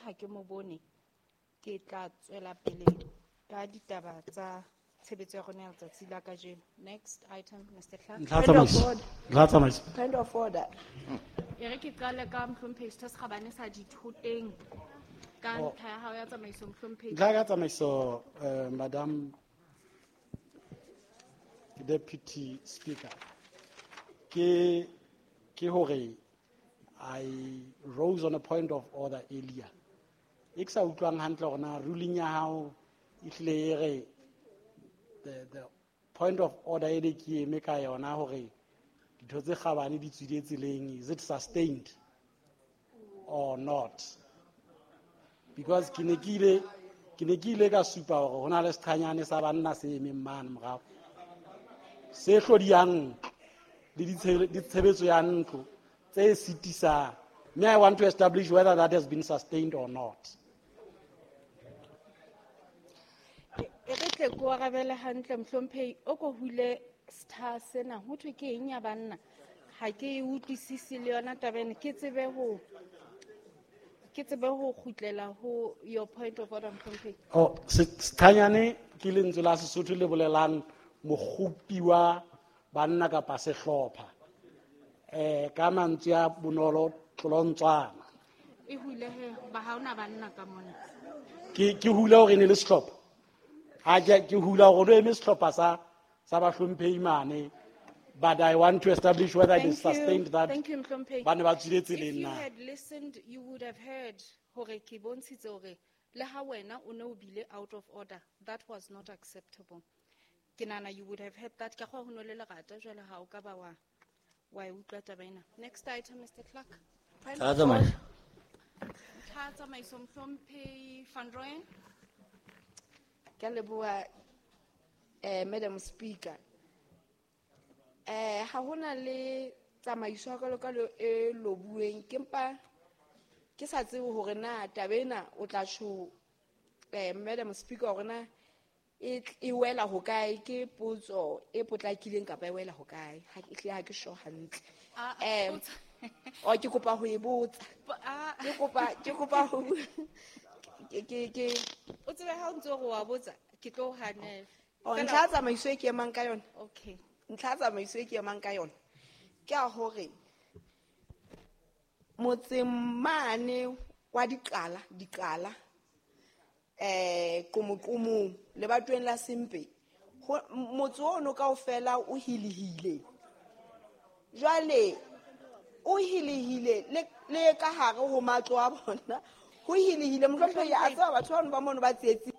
ha ke mo bone, ke tla tswela pele ka ditaba tsa tshebetso ya rona ya letsatsi la kajeno. Next item, Mr. Clerk. Ntlha tsamaiso. Ntlha tsamaiso. Point of order. E re ke qale ka mohlomphehi Setho se Kgabane sa Dithoteng ka ntlha ya hao ya tsamaiso, mohlomphehi. Ntlha ya tsamaiso, Madam Deputy Speaker, ke hore I rose on a point of order earlier. E ke sa utlwang hantle hore na ruling ya hao e hlile e re the point of order e ne ke eme ka yona hore ditho tse kgabane di tswile tseleng, is it sustained or not? Because ke ne ke ile ka supa hore ho na le seqhanyane sa banna se emeng mane morao se hlodiyang le ditshebetso ya ntlo tse sitisang. May I want to establish whether that has been sustained or not. E re tle ko arabele hantle, mohlomphehi, o ko hule setha sena ho thwe ke eng ya banna? Ha ke e utlwisise le yona taba ena, ke tsebe ho kgutlela ho your point of order, mohlomphehi. Oh, sethanyane ke lentswe la Sesotho le bolelang mokgopi wa banna kapa sehlopha. Ka mantswe a bonolo, tlolontswana. E hule he, ba ha hona banna ka mona. Ke hula hore e ne le sehlopha. Ha ke hula hore o eme sehlopha sa bahlomphehi mane, but I want to establish whether it is sustained that Thank you, Mhlomphehi. ba ne ba tswile tseleng If you na. had listened, you would have heard hore ke bontshitse hore le ha wena o ne o bile out of order, that was not acceptable. Ke nahana you would have heard that. Ka kgwa ho no le lerata jwale ha o ka ba wa e utlwa taba ena. Next item, Mr. Clerk. Tla tsamaiso. Tla tsamaiso, Mhlomphehi Van Rooyen. Ke a leboha, Madam Speaker. Ha hona le tsamaiso ya kalokalo e lobuweng, ke mpa ke sa tsebe hore na taba ena o tla tjho, Madam Speaker, hore na e wela hokae, ke potso e potlakileng kapa e wela hokae? Ha ke hlile ha ke sure hantle. Potso. O, ke kopa ho e botsa. Bo-, Ke kopa, ke kopa ho ke, ke, ke. O tsebe ha o ntse o re wa botsa, ke tlo o hanela. Oh, Fela ntlha ya tsamaiso e ke emang ka yona. Okay. Ntlha ya tsamaiso e ke emang ka yona ke ya hore motseng mane wa Diqala, Qomoqomong, lebatoweng la Sempe, motse ono kaofela o hilehile. Jwale o hilehile le ka hare ho matlo a bona, ho hilehile. Mohlomphehi, a tseba batho bano ba mono ba tsietsing.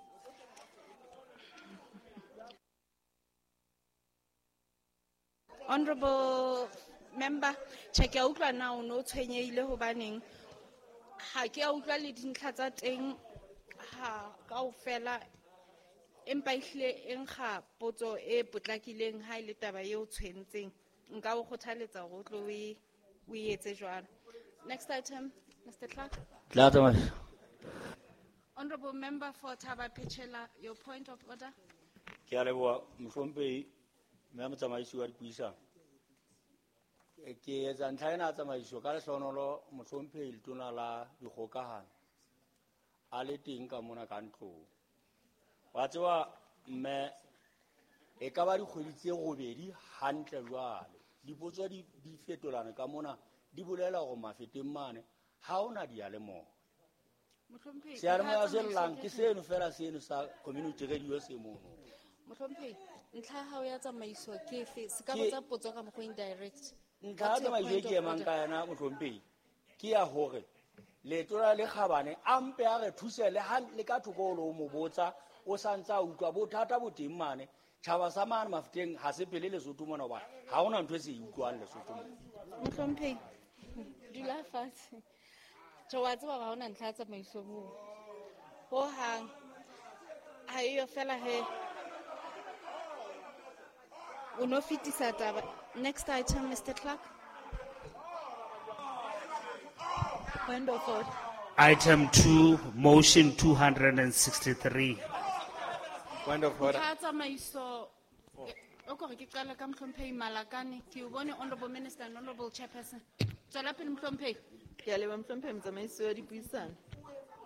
Honorable member, tjhe, ke a utlwa na o no tshwenyehile hobaneng? Ha ke a utlwa le dintlha tsa teng ha kaofela, empa ehlile e nkga potso e potlakileng ha e le taba eo tshwentseng. Nka o kgothaletsa hore o tlo o e etse jwalo. Next item, Mr. Clerk. Tla tsamaiso. Honorable member for Thaba Phechela, your point of order. Ke a leboha, mohlomphehi, mme motsamaisi wa dipuisano. Ke etsa ntlha ena ya tsamaiso ka lehlohonolo, mohlomphehi letona la dikgokahano a le teng ka mona ka ntlong. Wa tseba mme, e ka ba dikgwedi tse robedi hantle jwale. Dipotso di fetolana ka mona, di bolela hore mafeteng mane ha hona diyalemoya. Mohlomphehi, Seyalemoya ntlha ya se llang tsamaiso ke ke seno fela seno sa community radio se mono. Mohlomphehi, ntlha ya hao ya tsamaiso ke efe? Se ka Ke botsa potso ka mokgwa o indirect. Ntlha ya What's your tsamaiso e point ke of emang order? ka yona, mohlomphehi, ke ya hore letona le kgabane a mpe a re thuse le ha le ka thoko o lo mo botsa, o sa ntse a utlwa bothata bo teng mane. Tjhaba sa mane Mafeteng ha se phele Lesotho mona hobane ha hona ntho e se e utlwang Lesotho mona. Mohlomphehi, dula fatshe. Tjhe, wa tseba hore ha hona ntlha ya tsamaiso moo. Hohang. Ha eyo fela he. O no fetisa taba. Next item, Mr. Clerk. Point of order. Item 2, motion 263. Point of order. Ntlha ya tsamaiso, o kore ke qale ka Mohlomphehi Malakane. Ke o bone Honorable Minister and Honorable Chairperson. Tswela pele, Mohlomphehi. Ke a leboha, Mohlomphehi motsamaisi wa dipuisano.